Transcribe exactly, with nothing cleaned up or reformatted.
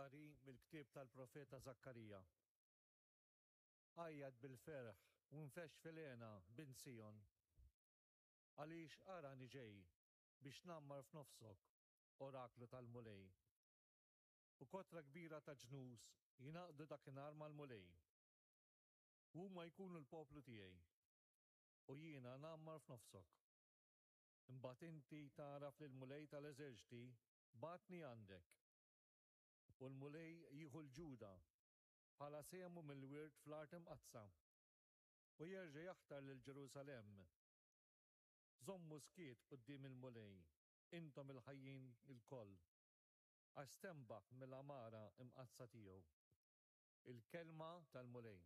Qari mill-ktieb tal-profeta Żakkarija. Għajjat bil-ferħ u nfexx fil-hena, bint Sijon. Għaliex arani ġej biex ngħammar f'nofsok, oraklu tal-Mulej. U kotra kbira ta' ġnus jingħaqdu dakinhar mal-Mulej. U huma jkunu l-poplu tiegħi. U jiena ngħammar f'nofsok. Imbagħad inti tagħraf li l-Mulej tal-eżerċti bagħatni għandek. U l-Mulej jieħu 'l Ġuda bħala sehmu mill-wirt fl-art imqaddsa. U jerġa' jaħtar lil Ġerusalemm. Żommu skiet quddiem il-Mulej, intom il-ħajjin ilkoll, għax stenbaħ mill-għamara imqaddsa tiegħu. Il-kelma tal-Mulej.